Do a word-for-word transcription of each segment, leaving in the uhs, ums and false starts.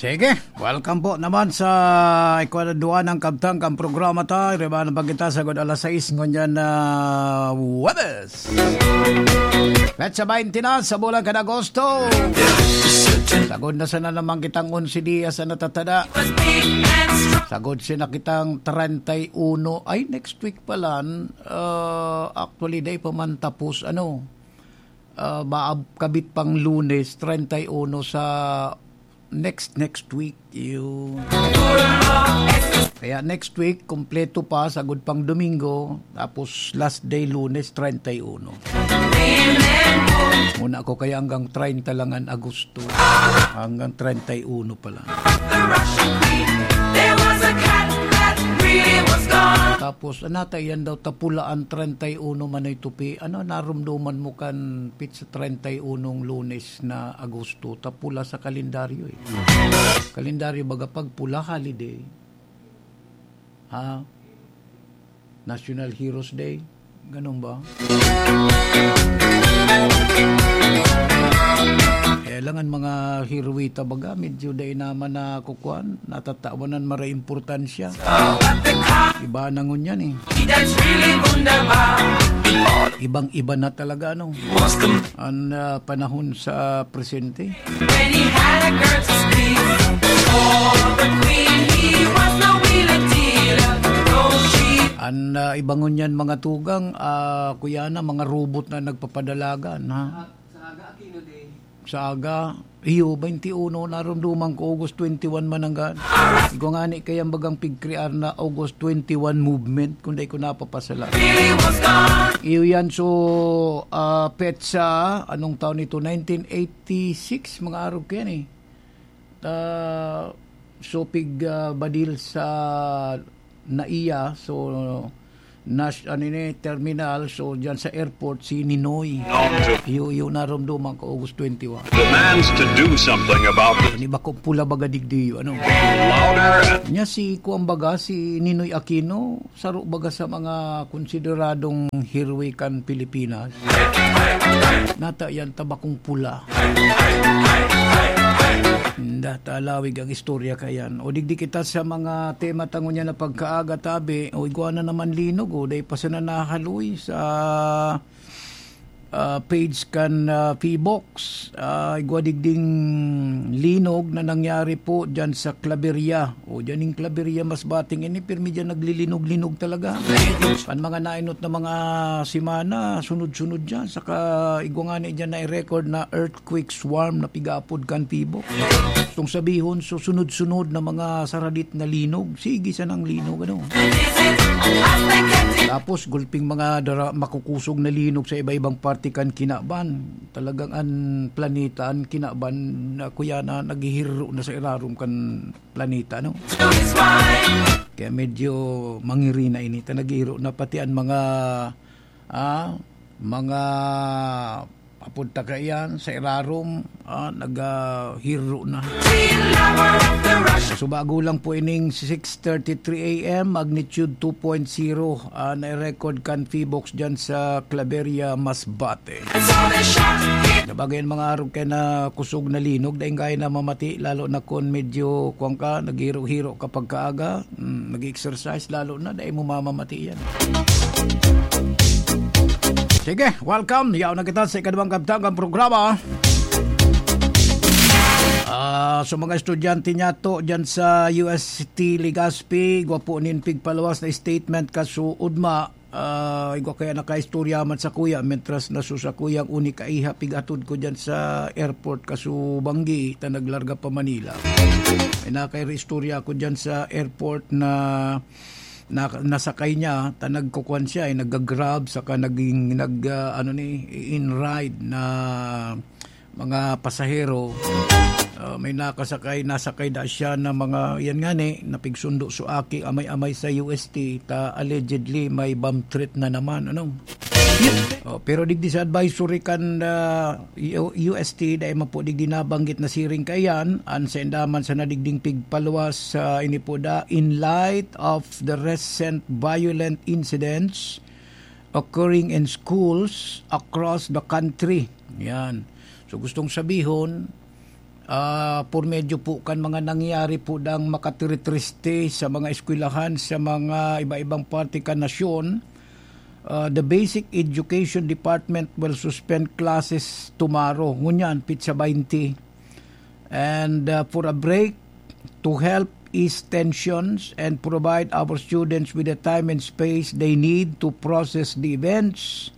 Sige, welcome po naman sa ikadwa na kabtang kan programa ta. Riba na pagkita sagod alas sais ngunyan na Webes. Petsa baynte na sa bulan kan Agosto. Sagod na sana naman kitang onse dias na natatada. Sagod sana kitang treinta y uno. Ay, next week pala. Ah, actually, day pa man tapos, ano, ah, maab-, kabit pang Lunes, treinta y uno sa next, next week. Yun. Kaya next week, kompleto pa, sagod pang Domingo, tapos last day, Lunes, treinta y uno. Muna ako kaya hanggang treinta lang ang Agosto. Hanggang treinta y uno pala. Tapos, anata, yan daw, tapula ang treinta y uno man ay tupi. Ano, narumduman mo kan pizza treinta y uno Lunes na Agosto, tapula sa kalendaryo eh. Kalendaryo baga pag pula, holiday. Ha? National Heroes Day. Ganun ba? Kaya lang ang mga heroita baga, medyo dai naman na kukuan, natatawan ang mara importansya. Iba na ngunyan eh. Ibang-iba na talaga, ano, ang, ah, panahon sa presente. When he had a girl to squeeze. For the queen, he was no wheeler dealer. No, she An, ah, iba ngunyan, mga tugang, ah, kuya na, mga robot na nagpapadalagan, ha? Sa aga, Aquino Day. Sa aga, iyo, baynte uno, narumduman ko, August twenty-one man nanggad. Igwa ngani kaya bagang pigkrear na August twenty-one movement, kung dai ko napapasala. Iyo yan, so, ah, petsa, anong taon ito? Nineteen eighty-six, mga arog ko yan eh. Ah, so, pig, ah, badil sa NAIA, so, Nash, ano ni, terminal, so, dyan sa airport, si Ninoy. Iyo, iyo, narumduman ko, August twenty-one. Demands to do something about the Ano ba kung pula baga digdi, ano? Louder and Nya si, kuwan baga, si Ninoy Aquino, saro baga sa mga konsideradong heroe kan Pilipinas. Nata yan, tabakong pula. Inda, talawig ang istorya kayan. O digdi kita sa mga tema ta ngunyan na pagkaaga, tabi. O igwa na naman linog, o dai pa sana nahaloy sa, ah, page kan, ah, Phibox. Ah, igwa digding linog na nangyari po dyan sa Claveria. O, dyan yung Claveria, Masbate ini, pirmi dyan naglilinog-linog talaga. Ang mga nainot na mga semana, sunod-sunod dyan. Saka igwa ngani dyan na i-record na earthquake swarm na pigapod kan Phibox. Itong sabihon, so sunod-sunod na mga saradit na linog. Sige sanang linog, ano? Tapos, gulping mga dara-, makukusog na linog sa iba-ibang parte kan kinaban. Talagang an planeta, an kinaban, na kuya na, naghihiro na sa irarom kan planeta, no? Kaya medyo mangiri na ini, ta naghihiro na pati an mga, ah, mga papunta kaiyan sa irarom, ah, naghihiro na. So, bago lang po ining six thirty-three A M, magnitude two point zero, ah, na-record kan Phibox dyan sa Claveria, Masbate. Sabagay, mga arog kay na kusog na linog, dai gaya na mamati, lalo na kung medyo, kuwan ka, naghiro-hiro ka pagkaaga, mm, nag-exercise, lalo na, dai mo mamamati yan. Sige, welcome. Yaw na kita sa ikaduwang kabtang kan programa. Ah, sa mga estudyante niyato dyan sa U S T Legazpi, gwapo nin pigpaluwas na statement kaso ugma, ah, igwa kaya nakaistorya man sa kuya, mentras na so sa kuyang uni kaiha pigatod ko dyan sa airport kaso banggi, ta naglarga pa Manila. May nakaistorya ako dyan sa airport na, na, nasakay niya, ta nagkukuan siya, eh, nag-Grab, saka naging, nag, ah, ano ni, in ride na mga pasahero. Ah, may nakasakay, nasakay na siya na mga, yan nga ni, napigsundo so aki, amay-amay sa U S T, ta allegedly may bomb threat na naman, ano? Oh, pero digdi sa advisory kan, ah, U-, U S T, dai man po digdi nabanggit na siring kaiyan, an sainda man sa nadigding pigpaluwas sa ini po da, in light of the recent violent incidents occurring in schools across the country. Yan. So, gustong sabihon, Ah, por medyo po kan mga nangyari po dang makatiritriste sa mga eskwelahan sa mga iba-ibang parte kan nasyon, ah, the Basic Education Department will suspend classes tomorrow, ngunyan, petsa baynte. And, ah, for a break, to help ease tensions and provide our students with the time and space they need to process the events,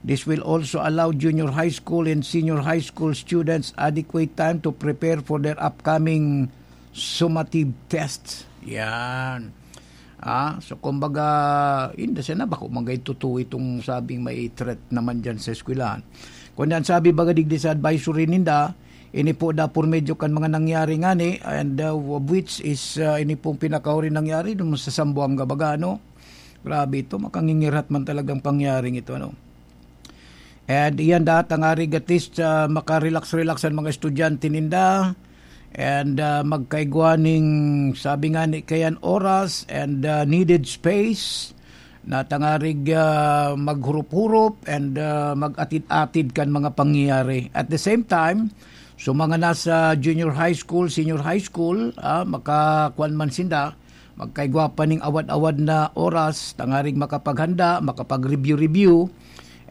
this will also allow junior high school and senior high school students adequate time to prepare for their upcoming summative tests. Yan. Ah, so kumbaga, hindi sana bako manggay totoo itong sabing may threat naman dyan sa eskwelahan. Kung yan sabi baga digdi sa advisory ninda, ini po da por medyo kan mga nangyari ngani, and, uh, of which is, uh, ini pong pinakahuring nangyari dun sa Zamboanga baga, ano? Grabe ito, makangingirhat man talagang pangyaring ito, ano? And iyan da, tangarig at least, ah, makarelax-relax ang mga estudyante ninda. And, ah, magkaigwa ning, sabi nga ni kayan, oras and, ah, needed space na tangarig, ah, maghurup-hurup and, ah, mag-atid-atid kan mga pangyayari. At the same time, so mga nasa junior high school, senior high school, ah, makakuan man sinda, magkaigwa pa ning awad-awad na oras, tangarig makapaghanda, makapag-review-review,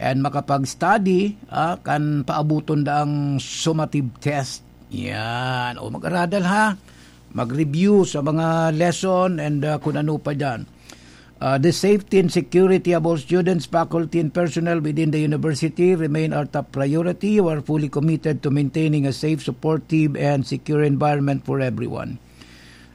and makapag-study, ah, kan paabuton daang summative test. Yan. O mag-aradal ha. Mag-review sa mga lesson and, ah, kung ano pa dyan. Ah, the safety and security of all students, faculty, and personnel within the university remain our top priority. We are fully committed to maintaining a safe, supportive, and secure environment for everyone.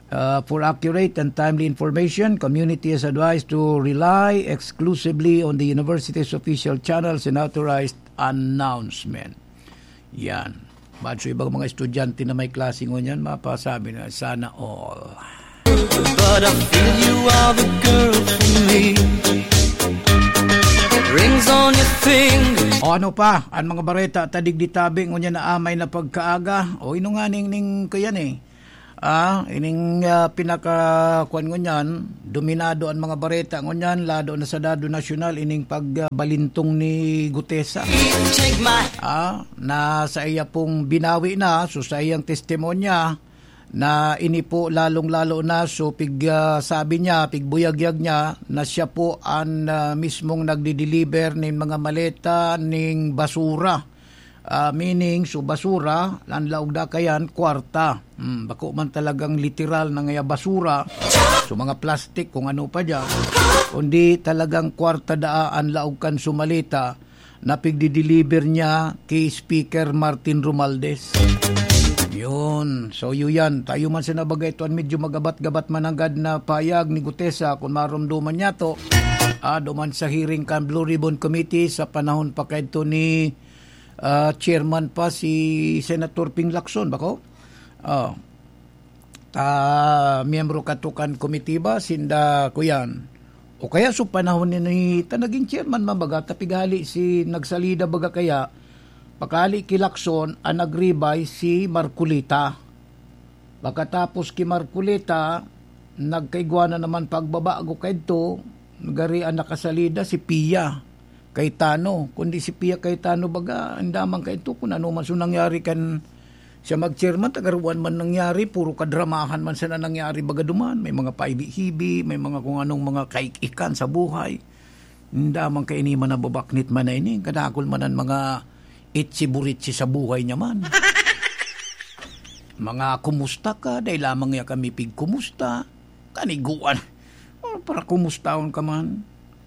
Uh, for accurate and timely information, community is advised to rely exclusively on the university's official channels and authorized announcement. Yan. Bad so ibang mga estudyante na may klase ngunyan, mapasabi na, "Sana all." But I feel you are the girl for me. Rings on your finger. O ano pa, ang mga bareta, tadig di tabi, ngunyan na amay na pagkaaga. O ino nga ning, ning, kuyan eh. Ah, ining, ah, pinaka, kuwan ngunyan, dominado ang mga bareta ngunyan, lado na sa dado nasyonal, ining pagbalintong ni Gutesa. Take my Ah, na sa iya pong binawi na, so sa iyang testimonya, na ini po lalong-lalo na, so pig, ah, sabi niya, pigbuyagyag niya, na siya po ang, ah, mismong nagdi-deliver nin mga maleta ning basura. Ah, meaning, so basura, ang laog da kayan, kwarta. Hmm, bako man talagang literal na ngaya basura, so mga plastic, kung ano pa dyan, kundi talagang kwarta daa ang laog kan sumalita na pigdi-deliver niya kay Speaker Martin Romualdez. Yun. So, yun yan. Tayo man sa nabagay ito, ang medyo magabat-gabat mananggad na payag ni Gutesa, kung marumduman niya to, ah, duman sa hearing kan Blue Ribbon Committee sa panahon pa kaidto ni ah, chairman pa si Senator Ping Lacson, bako? Ah, ta, miyembro kato kan komitiba, sinda kuyan. O kaya sa panahon ni, ni ta naging chairman, mabaga, ta pighali si nagsalida baga kaya, pakali ki Lacson, ang nagribay si Marcoleta. Pagkatapos ki Marcoleta, nagkaigwa na naman pagbabago kaidto, gari ang nakasalida si Pia Cayetano. Kundi si Pia Cayetano baga, andaman kaidto kung ano man so nangyari kan siya mag-chairman, tagaruan man nangyari, puro kadramahan man sana nangyari baga duman. May mga paibi-hibi, may mga kung anong mga kaikikan sa buhay. Andaman kaini man nababaknit man na ini, kadakol man ang mga itsi-buritsi sa buhay niya man. Mga kumusta ka, dahil lamang niya kami pigkumusta, kaniguan. O, para kumustahon ka man.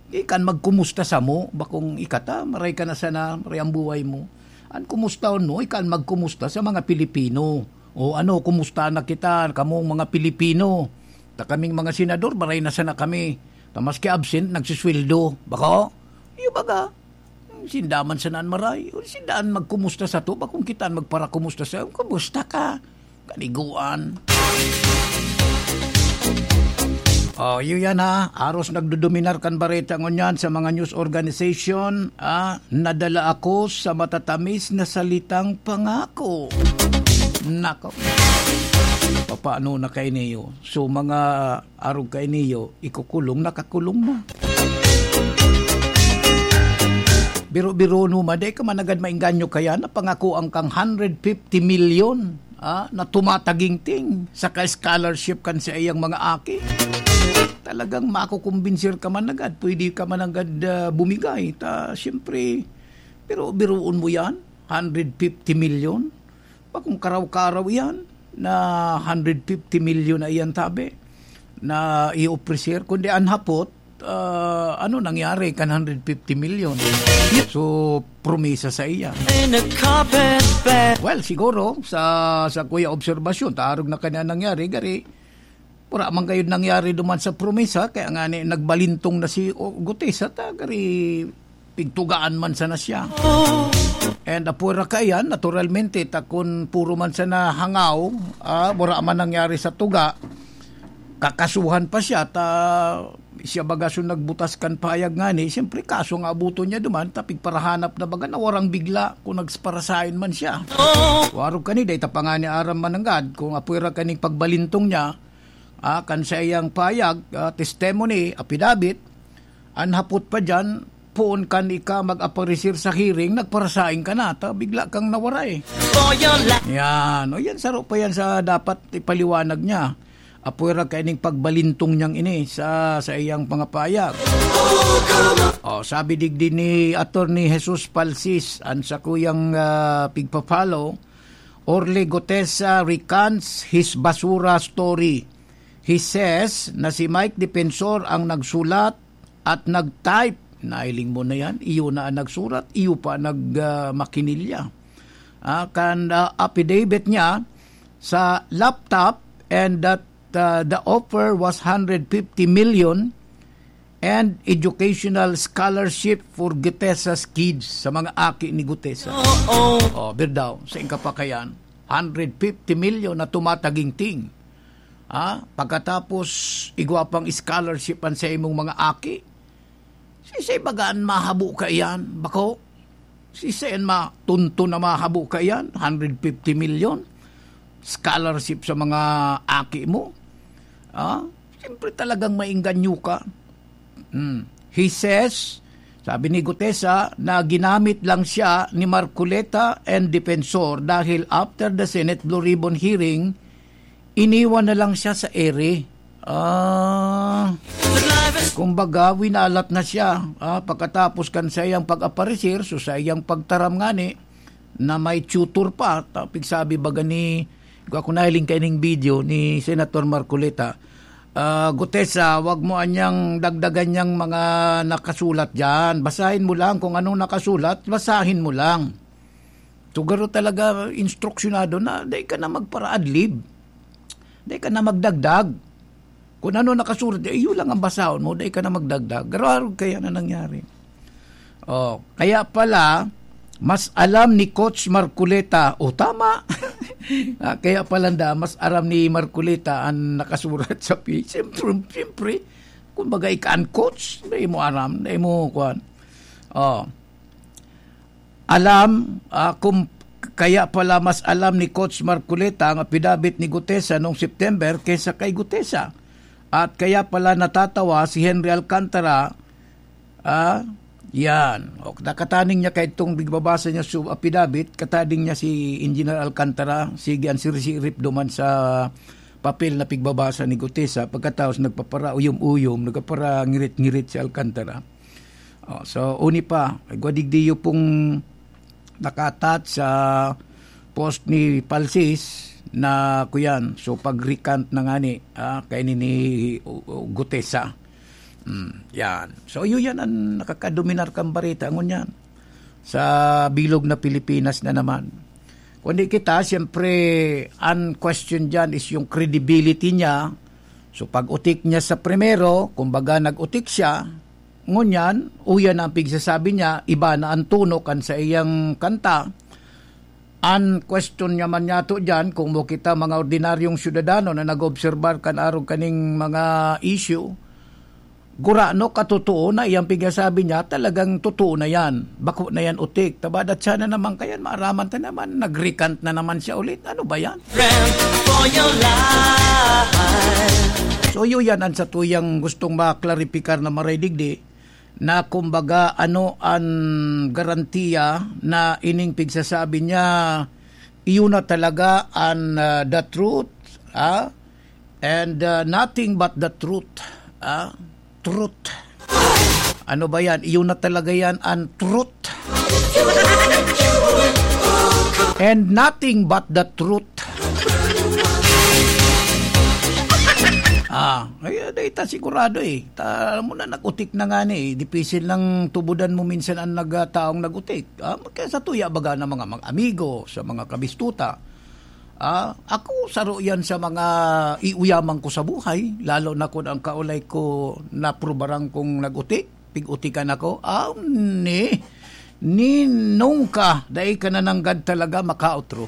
Ikan magkumusta samo, bakong ikata, maray ka na sana, maray ang buhay mo. An kumustahon mo, ikan magkumusta sa mga Pilipino. O ano, kumusta na kita, kamong mga Pilipino? Ta kaming mga senador, maray na sana kami. Ta maski absent, nagsisweldo. Bako? Iyo baga? Sinda man sana an maray. O, sinda an magkumusta sato, bakong kita an magparakumusta sa, "Kumusta ka?" Kaniguan. O, iyo yan ha. Aros nagdodominar kan bareta ngunyan sa mga news organization, ah, nadala ako sa matatamis na salitang pangako. Nako. Papaano na kayo niyo? So, mga arog kainiyo, ikukulong, nakakulong na. Biro-biro no, ma, di ka managad maengganyo kaya na pangakoan kang hundred fifty million. ah, na tumatagingting, saka scholarship kan saiyang mga aki. Talagang makukumbinsir ka man agad, pwede ka man agad, ah, bumigay. Ta, siyempre, pero biruon mo yan, hundred fifty million. Bakong karaw-karaw yan na hundred fifty million na iyan tabi na i-ofrecer, kundi an hapot, ah, ano nangyari kan hundred fifty million? So, promesa sa iya. In a carpet bag. Well, siguro, sa, sa kuya obserbasyon, taarog na kanya nangyari, gari, wala man kayo nangyari duman sa promesa, kaya nga ni, nagbalintong na si O-, Gutesa, ta, gari, pigtugaan man sana siya. And apura kaiyan, naturalmente, ta kun puro man sana hangaw, ah, wala man nangyari sa tuga, kakasuhan pa siya, ta siya baga so nagbutas kan payag ngani, siyempre kaso nga abuton niya duman, ta pigparahanap na baga na warang bigla kung nagsparasain man siya. Warog kani, dai ta pa ngani aram mananggad kung apwera kaning pagbalintong niya, ah, kan saiyang payag, ah, testimony, apidabit, an hapot pa diyan, poon kan ika mag-aparecer sa hearing, nagparasaing ka na, ta bigla kang nawara eh. For your life. Yan. O yan, saro pa yan sa dapat ipaliwanag niya. Apwera kaining pagbalintong niyang ini sa, sa iyang mga payag. O, sabi digdi ni Attorney Jesus Palsis, an sakuyang, ah, pigpa-follow, Orly Gutesa recants his basura story. He says na si Mike Defensor ang nagsulat at nag-type. Nailing mo na yan. Iyo na ang nagsurat, iyo pa nag, ah, makinilya. Ah, kan, ah, affidavit niya sa laptop and that, ah, the offer was hundred fifty million and educational scholarship for Gutesa's kids, sa mga aki ni Gutesa. Oo. Oh, birdaw, sa ingkapakayan, hundred fifty million na tumatagingting. Ah, pagkatapos, igwa pang scholarship an sa imong mga aki. Sisay baga an mahabo kaiyan, bako? Sisay an matunto na mahabo kaiyan? Hundred fifty million? Scholarship sa mga aki mo? Ah, siyempre talagang maengganyo ka. Hmm. He says, sabi ni Gutesa, na ginamit lang siya ni Marcoleta and Defensor dahil after the Senate Blue Ribbon hearing, iniwan na lang siya sa ere. Ah, kumbaga, winalat na siya. Ah, pagkatapos kan saiyang pag-aparecer, so saiyang pagtaram ngani, na may tutor pa, ta-, pigsabi baga ni, ako nahiling kaining video ni Senator Marcoleta, ah, Gutesa, wag mo anyang dagdagan niyang mga nakasulat diyan. Basahin mo lang kung anong nakasulat, basahin mo lang. So, garo talaga instruksyonado na dai ka na magpara-adlib. Dai ka na magdagdag. Kung ano nakasurat, eh, iyo lang ang basahon mo, dai ka na magdagdag. Garo-garo kaya na nangyari. Oh, kaya pala, mas alam ni Coach Marcoleta. O, tama. Ah, kaya pala nda, mas aram ni Marcoleta ang nakasurat sa pi-, siyempre, siyempre, kumbaga, ika an coach, dai mo aram, dai mo, kuwan. Oh. Alam, ah, kung kaya pala mas alam ni Coach Marcoleta ang apidabit ni Gutesa noong September kaysa kay Gutesa. At kaya pala natatawa si Henry Alcantara, ah, yan. O, nakataning niya kay itong bigbabasa niya sa apidabit, kataning niya si Engineer Alcantara, sige, ang sirisirip duman sa papel na pigbabasa ni Gutesa, pagkatapos nagpapara-uyom-uyom, nagpapara-ngirit-ngirit si Alcantara. Oh, so, uni pa, igwa digdi iyo pong nakatat sa post ni Palsis na kuyan. So, pag-recant na ngani, ah, kay ni, ni U-, U-, Gutesa. Mm, yan. So, iyo yan ang nakakadominar kang bareta, ngunyan, sa bilog na Pilipinas na naman. Kundi kita, siyempre, ang question dyan is yung credibility niya. So, pag-utik niya sa primero, kumbaga nag-utik siya, ngunyan, uyan ang pigsasabi niya, iba na ang tono kan sa iyang kanta. Ang question niya man yato dyan, kung mo kita mga ordinaryong syudadano na nag-obserbar kan arog kaning mga issue, gurano katotoo na iyang pigsasabi niya, talagang totoo na yan. Bako na yan utik. Tabadat siya na naman kayan, maaraman ta naman, nag-recant na naman siya ulit. Ano ba yan? Friend for your life. So, iyo yan ang sa tuyang gustong maklaripikar na maray digdi, na kumbaga ano ang garantiya na ining pigsasabi niya Iyo na talaga an, ah, the truth, ah, and, ah, nothing but the truth, ah, truth. Ano ba yan? Iyo na talaga yan an truth. And nothing but the truth. Ah, ay, ah, dai ta sigurado eh. Ta, alam mo na, nag-utik na nga ni eh. Dipisil nang tubudan mo minsan ang nag-, ah, taong nag-utik. Ah, kaya sa tuya baga ng mga, mga amigo, sa mga kabistuta. Ah, ako, saro yan sa mga iuyaman ko sa buhay, lalo na kun ang kaulay ko naprubaran kong nag-utik, pig-utikan ako. Ah, ni, ni nungka, dai ka na nanggad talaga makaotro.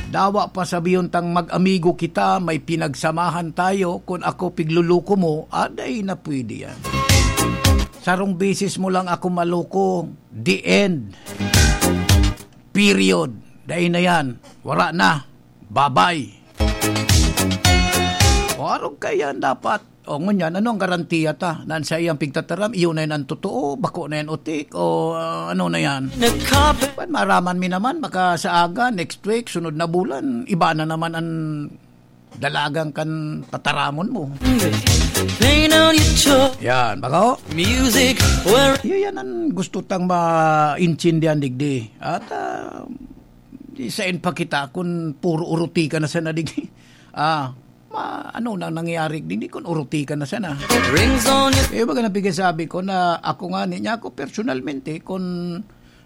Dawa pa sabihon tang mag-amigo kita, may pinagsamahan tayo, kun ako pigluluko mo, ah, dai na pwede yan. Sarong beses mo lang ako maluko, the end. Period. Dai na yan. Wara na. Babay. O, arog kaya dapat. O, ngunyan, ano ang garantiya ta? Na sa iyang pigtataram, iyo na yan ang totoo, bako na yan utik, o, ah, ano na yan? Nagkape. Pan, maraman mi naman, baka sa aga, next week, sunod na bulan, iba na naman ang dalagan kan tataramon mo. Pain on your toe. Yan, bako? Music, where Iyo yan ang gusto tang maintindihan, digdi. At, ah, di sain pa kita kun puro uruti ka na sana, digdi. Ah, ma-, ano na nangyayari, digdi, kun uruti ka na sana. Rings on your Eh, baga na pigkasabi ko na ako nga, niya ako personalmente, kun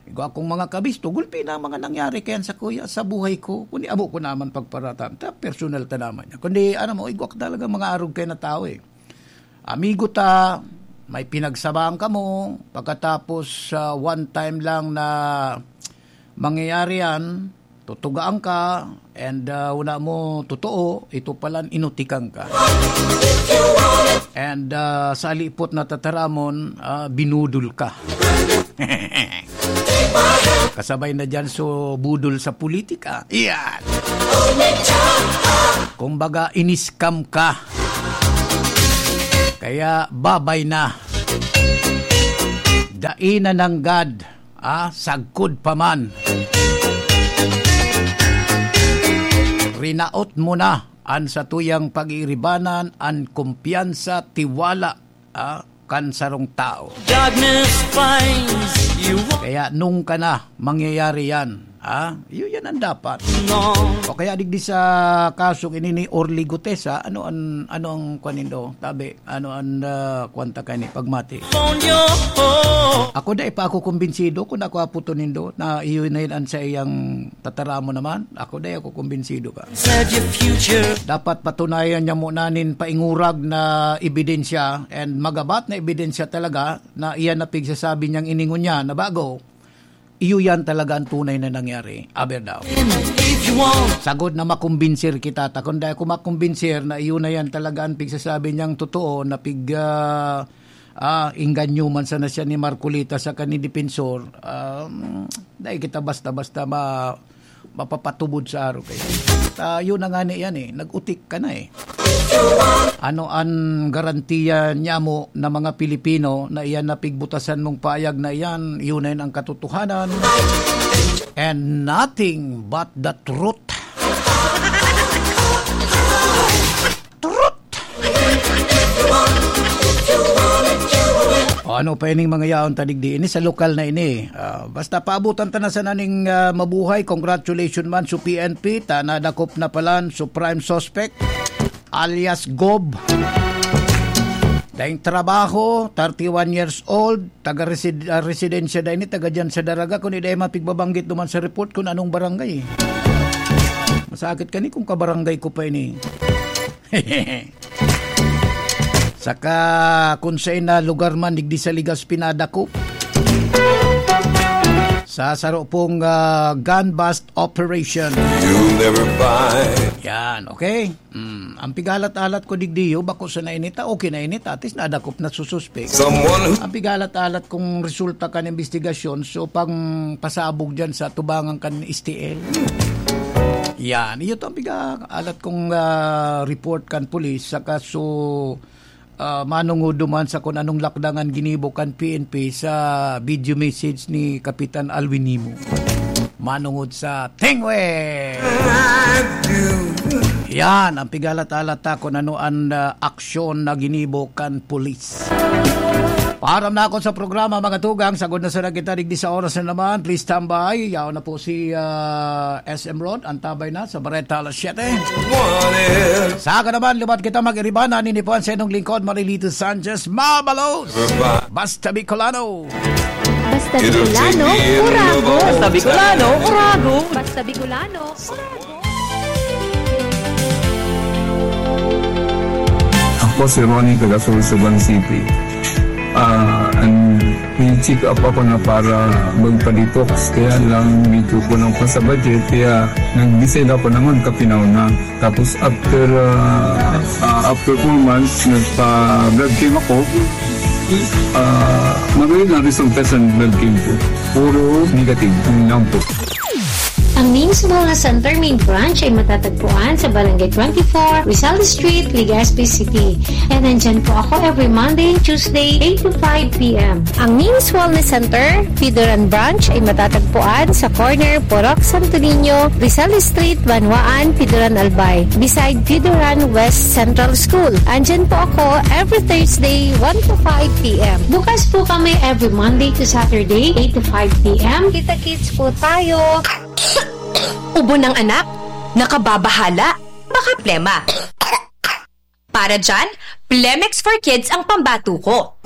igwa akong mga kabisto, gulpi na ang mga nangyari kayan sa kuya, sa buhay ko. Kundi abo ko naman pagparatan, ta personal ta naman yan. Kundi, ano mo, igwa ko talaga mga arog kayo na tao eh. Amigo ta, may pinagsamahan kamo, pagkatapos, ah, one time lang na mangyayari yan, tutugaan ka, and, ah, wala mo totoo, ito palan inutikan ka. And, ah, sa alipot na tataramon, ah, binudol ka. Kasabay na dyan so budol sa politika. Iyan. Kumbaga, in-scam ka. Kaya babay na. Dai na nanggad, ah, sagkod pa man. Rinaot mo na an satuyang pag-iiribanan, an kumpiyansa, tiwala, ah, kan sarong tao. Darkness finds you. Kaya nung ka na mangyayari yan, ha? Iyo yan ang dapat. No. O kaya digdi sa kasong ini ni Orly Gutesa, ano an, ano ang kwan nindo? Tabi, ano an, ah, kwanta ka ni pagmati? Phone your home. Ako dai pa ako kumbinsido kung ako aputon nindo na iyo na yun ang sa iyang tataramon naman. Ako dai ako kumbinsido ka. Said your future. Dapat patunayan niya muna nin paingurag na ebidensya and magabat na ebidensya talaga na iyan na pigsasabi niyang iningon niya na bago. Iyo yan talaga ang tunay na nangyari. Aber daw. If you want. Sagod na makumbinsir kita. Ta kun dai ako makumbinsir na iyo na yan talaga ang pigsasabi niyang totoo na pig, ah, ah, inganyo man sana siya ni Marcoleta saka ni Defensor. Um, dai kita basta-basta ma-, mapapatubod sa araw kayo. Ta, yun na nga ni yan eh. Nag-utik ka na eh. Ano an garantiya niya mo na mga Pilipino na iyan na pigbutasan mong payag na iyan, yun na yun ang katotohanan. And nothing but the truth. Truth! O, ano pa ining mga yaon ta digdi? Ini sa lokal na ini. Ah, basta paabutan ta na sana ning, ah, mabuhay. Congratulations man sa P N P. Ta nadakop na palan sa prime suspect, alias Gob. Daing trabaho, thirty-one years old, taga resid-, ah, residensya da ini, taga diyan sa Daraga. Kung iday mapigbabanggit duman sa report kung anong barangay. Masakit kani kung kabarangay ko pa ini. Saka kung sa ina lugar man, digdi sa Ligas pinadakop. Sa saro pong, ah, gun bust operation. You'll never find. Yan, okay? Mm, ang pigalat-alat ko digdiyo, bako sa nainita, okay nainita, at least nadakop na sususpek. Someone who Ang pigalat-alat kong resulta kan investigasyon, so pang pasabog dyan sa tubangan kan S T L. Yan, iyo to ang pigalat kong, ah, report kan pulis, saka so, ah, manungod duman sa kung anong lakdangan ginibo kan P N P sa video message ni Kapitan Alwin Nimo. manungod sa tingwe. Yan ang pigalat-alat ta kung ano ang, ah, aksyon na ginibo kan pulis. Paaram na ako sa programa, mga tugang. Sagod na sana kita digdi sa oras na naman. Please stand by. Yaon na po si, ah, S M Rod. Antabay na sa Bareta alas siyete. Sa naman, lubat kita mag-iribanan. Ini po ang senong lingkod, Marilito Sanchez. Mabalos! Basta Bicolano! Basta Bicolano, Urago! Basta Bicolano, Urago! Basta Bicolano, Urago! Ako si Ronnie, taga Sorsogon City. Ah, an may check up ako na para magpa-detox, kaya lang medyo kulang pa sa budget, kaya nag-decide ako naman kapinaw na. Tapos after ah, ah, after four months, nagpa-blood chem ako. Ah, magayon ang resulta sa blood chem ko. Puro negative, yun lang po. Ang Names Wellness Center main branch ay matatagpuan sa Barangay twenty-four, Rizal Street, Legazpi City. And nandyan po ako every Monday and Tuesday, eight to five p.m. Ang Names Wellness Center, Pidoran Branch ay matatagpuan sa corner Purok Santo Niño, Rizal Street, Banwaan, Pidoran Albay, beside Pidoran West Central School. Andyan po ako every Thursday, one to five p.m. Bukas po kami every Monday to Saturday, eight to five p.m. Kita-kits po tayo. Ubo ng anak? Nakababahala? Baka plema? Para dyan, Plemex for Kids ang pambato ko.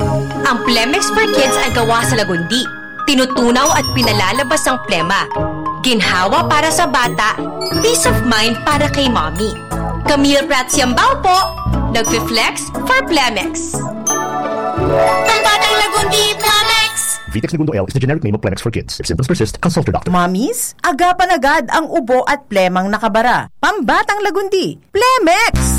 Ang Plemex for Kids ay gawa sa lagundi. Tinutunaw at pinalalabas ang plema. Ginhawa para sa bata, peace of mind para kay mommy. Camille Prats Yambao po, nagfi-flex for Plemex. Pambatang lagundi, Plemex! Vitex Negundo L is the generic name of Plemex for kids. If symptoms persist, consult your doctor. Mommies, agapan agad ang ubo at plemang nakabara. Pambatang lagundi, Plemex!